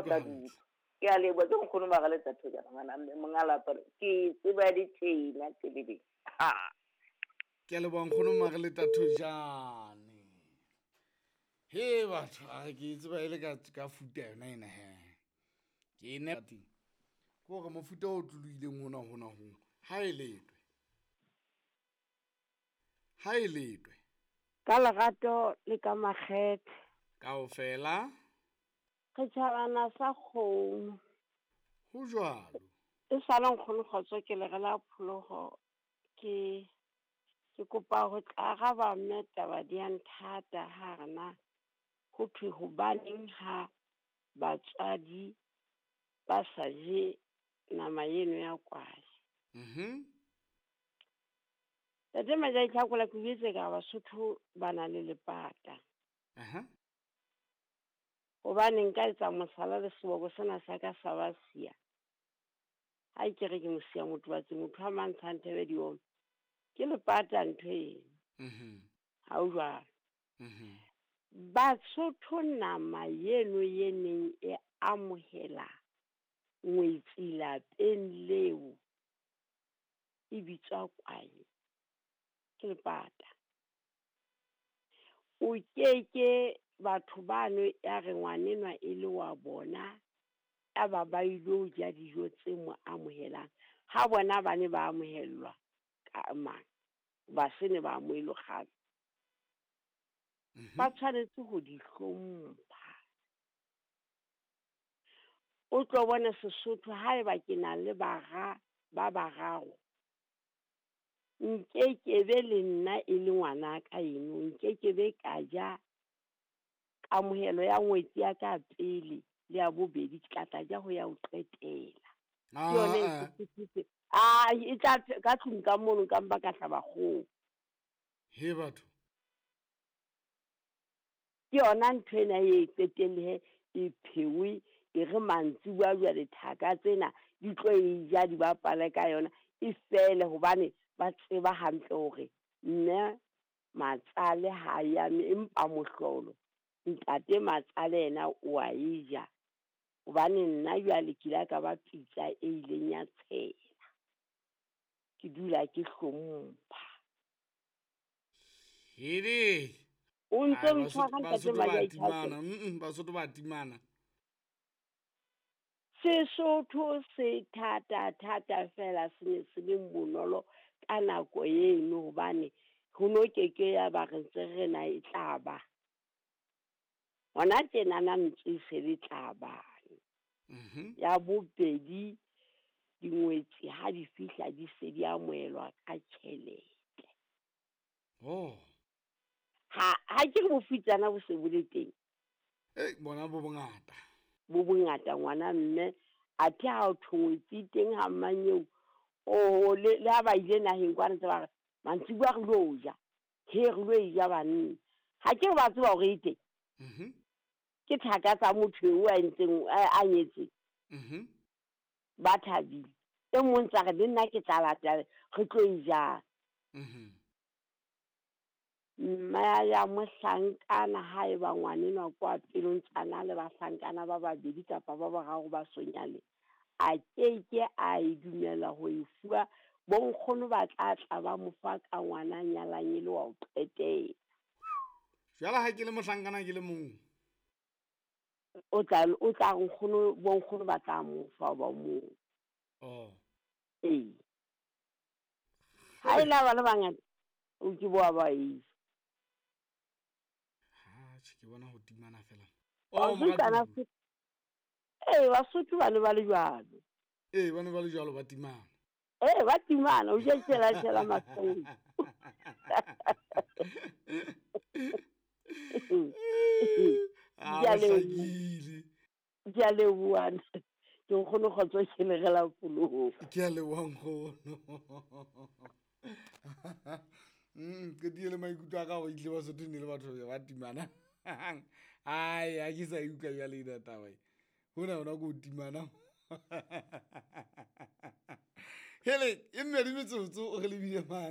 o utlwa tla di hantle. utlwa. Ke a leboha, ke nkgono Magaletsa Thojana, ngwana mme, monga lapa le. Ke tseba ditjena tse le ding. Ha. Ke a leboha nkgono Magaletsa Thojane. He batho, a re ke e tseba e le ka futa yona ena he. Ke e ne teng. Ke hore mofuta o tlolohileng hona hona ho, ha e letwe. Ha e letwe. Ka lerato le ka makgethe. Kaofela. Re tjhabana sa kgomo. Ho jwalo. E sale nkgono kgotso ke le re la pholoho ke kopa ho tla araba mme taba di a nthata ha re na ho thwe hobaneng ha batswadi ba sa je nama eno ya kwae. Ntate Majai Tlhakola, ke buetse ka Basotho ba na le lepata. Hobane nka etsa mohlala le seboko sena sa ka sa ba siya. Ha ke re ke mosiya motho wa tse, motho a mantshang thebe di oma. Ke lepata ntho eno. Ha o jwalo. Basotho nama eno ye neng e amohela ngwetsi lapeng leo e bitswa kwae. Ke lepata. O keke batho bano ya re ngwanenwa e le wa bona, ya ba ba ilo ja dijo tse mo amohelang. Ha bona ba ne ba amohellwa ka mang, ba se ne ba amohelwe kgale. Ba tshwanetse ho di hlompha. O tlo bona Sesotho haeba ke na le bara ba bararo, nkekebe le nna e le ngwanaka eno, nkekebe ka ja kamohelo ya ngwetsi ya ka pele le ya bobedi, ke tla tla ja ho ya ho qetela. Ke yone e Sesotho. Ah, e tla ka tlung ka mono ka mpa ka hlaba kgoho. He batho. Ke yona ntho ena e qetelle e phewe, e re mantsibuya jwale thaka tsena di tlo e ja di bapale ka yona e fele, hobane ba tseba hantle hore mme matsale ha ya mme, empa mohlolo ntate matsale yena o a e ja, hobane nna jwale ke ile ka ba pitsa e ileng ya tshela. Ke dula ke hlompha. Hele. O ntse Ai, ntshwara ntate Basotho ba Majai timana. Tlhako. Basotho ba timana. Sesotho se thata, thata fela, se ne se le bonolo ka nako eno, hobane ho no keke ya ba re ntse re na e tla ba. Hona tjenana ntse e se le tla ba. Ya bobedi, dingwetsi ha di fihla di se di amohelwa ka tjhelete. Ha ke re bofutsana bo se bo le teng. Ei, bona bo bongata. Bo bongata ngwana mme, athe ha o thongwetsi teng ha mmanyeo, oho, le ha ba ile naheng kwana ntse ba re, mantsibuya re lo ja, he re lo e ja banna. Ha ke re ba tseba hore e teng. Ke thaka tsa motho eo a entseng, a nyetseng. Ba thabile. E mong tsa re le nna ke tla lata, re tlo e ja. Mma ya mohlankana ha eba ngwanenwa kwa pelong tsana le bahlankana ba babedi kapa ba bararo ba sonyale, a keke a e dumela ho e fuwa. Bonkgono ba tla tla ba mo fa ka ngwana nyalang e le wa ho qetela. Jwale ha ke le mohlankana ke le mong. O tla re nkgono, bonkgono ba tla mo fa ba mong. Ee. Ha e la ba le bangata, o ke boa ba e. Ha, tjhe, ke bona ho timana fela. Wa Oh, utlwa moratuwa. na Ee, Basotho ba ne ba le jwalo. Ee, ba ne ba le jwalo, ba timana. Ee, ba timana, o je tshela tshela mahlong. Ah, Ke a leboha. hlakile. Ke a leboha. Ke nkgono kgotso ke le rela poloko. Ke a leboha nkgono. Qetile le maikutlo a ka hore ehlile Basotho ne le batho ba timana. Ai, ha ke sa e utlwa jwale ena taba e. Hona hona ke ho timana. Hele, e mmedi metsotso re lebile mane.